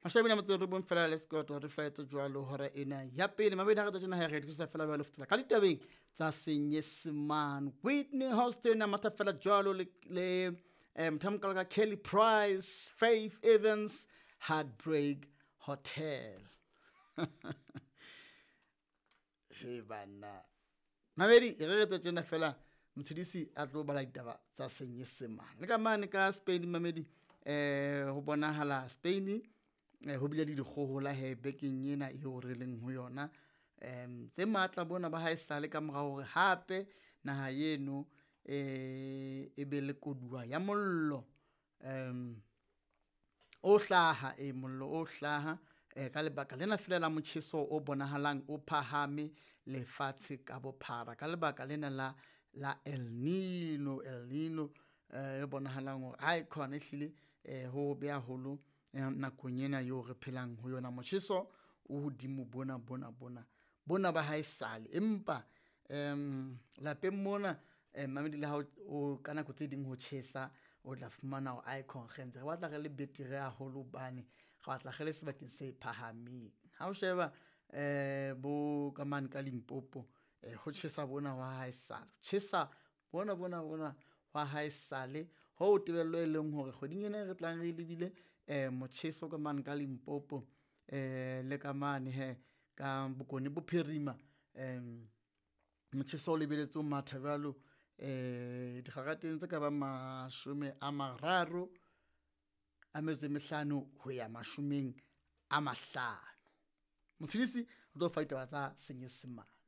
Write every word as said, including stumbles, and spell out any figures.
Mashome a metso e robong fela le sekoto re flaetse jwalo hora ena ya pele mabedi ha re tsena ha re thusa fela jwalo fetela ka ditabeng tsa Senyesemane. Whitney Houston a matha fela jwalo le le eh, motho a mokalo ka Kelly Price, Faith Evans, Heartbreak Hotel. He banna mamedi e re re tse tjena fela motshedisi a tlo bala ditaba tsa Senyesemane le ka mane ka Spain mamedi eh ho bonahala Spain eh, ho bile le dikgohola he bekeng ena eo re leng ho yona um tse matla bona ba haesale ka mora hore hape naha eno eh e be le koduwa ya mollo um o hlaha e mollo o hlaha eh, ka lebaka lena fela la motjheso o bonahalang o phahame lefatshe ka bophara ka lebaka lena la la El Nino. El Nino eh e bonahalang hore hai khona ehlile eh ho hobe haholo eh, nakong ena eo re phelang ho yona. Motjheso o hodimo bona bona bona bona ba haesale, empa um lapeng mona eh, mamedi le ha o ka nako tse ding ho tjhesa o tla fumana hore ai re ntse re batla re le betere haholo hobane re batla re le sebakeng se phahameng. Ha o sheba eh bo ka mane ka Limpopo eh ho tjhesa bona wa haesale, tjhesa bona bona bona wa haesale ho tebello e leng hore kgweding ena e re tlang re lebile eh motjheso ka mane ka Limpopo eh le ka mane he ka Bokone Bophirima em motjheso o lebeletse ho matha jwalo eh dikgarateng tse ka bang mashome a mararo a metso e mehlano ho ya mashomeng a mahlano. Motshedisi o tlo fa ditaba tsa Senyesemane.